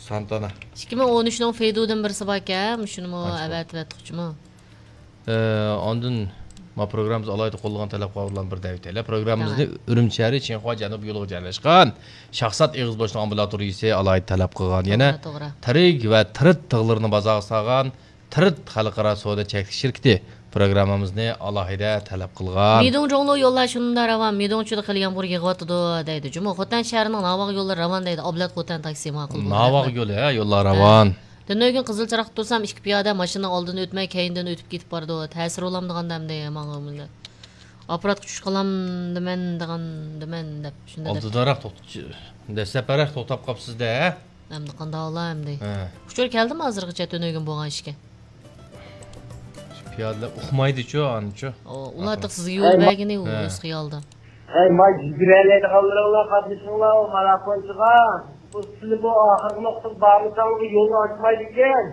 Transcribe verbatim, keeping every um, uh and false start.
سانتانا. ئىككى مىڭ ئون ئۈچنىڭ فېيدۇدىن بىرسى باركەن، مۇشۇنىمۇ ئەۋەتىۋەتتۇقچىمۇ؟ ئاندىن ما پروگراممىمىز ئالاھىدە قوللىغان تەلەپكارلارنىڭ بىرى دەۋېتەيلى. پروگراممىمىزنى ئۈرۈمچى شەھىرى چىڭخۇا جەنۇبىي يولىغا جايلاشقان شاھزات ئېغىز بوشلۇق ئامبۇلاتورىيىسى ئالاھىدە تەلەپ قىلغان. يەنە تىرىك ۋە تىرىت تىغلىرىنى بازارغا سالغان تىرىت خەلقئارا سودا چەكلىك شىركىتى پروگراممىمىزنى ئالاھىدە تەلەپ قىلغان. مىدۇڭ جۇڭلۇ يوللار شۇنداق راۋان، مىدۇڭچىدا خېلى يامغۇر يېغىۋاتىدۇ دەيدۇ. جۇمۇ خوتەن شەھىرىنىڭ ناۋاغ يوللىرى راۋان دەيدۇ. ئابلەت خوتەن تاكسى ماقۇل بولدى. ناۋاغ يولى، ھە، يوللار راۋان. تۈنۈگۈن قىزىل چىراغدا تۇرسام، ئىككى پىيادە ماشىنىنىڭ ئالدىدىن ئۆتمەي، كەينىدىن ئۆتۈپ كېتىپ بارىدۇ. تەسىر بولامدىغان دەمدى ماڭا ئۇمۇندە. ئاپپاراتقا چۈش قالامدىمەن دېگەندىمەن دەپ، شۇنداق دەپ. ئالدىداراق توختىتىش، دەسلەپرەك توختاپ قاپسىز-دە، ھە؟ ئەمدى قانداق ئالا ئەمدى؟ ھە. ئۇچۇر كەلدىمۇ ھازىرغىچە تۈنۈگۈن بولغان ئىشكە؟ پىيادىلەر ئۇقمايدىچۇ، ئانىچۇ. ئۇلار تېخى سىزگە يول بەرگىنى ئۇ ئۆز خىيالىدا. ھەي، ماي يۈگۈرەلەيدىغانلىرىڭلار قاتنىشىڭلار ئۇ ماراپونچىغا. بۇ سىلى بۇ ئاخىرقى نۇقتىغا بارمىساڭلار يولنى ئاچمايدىكەن.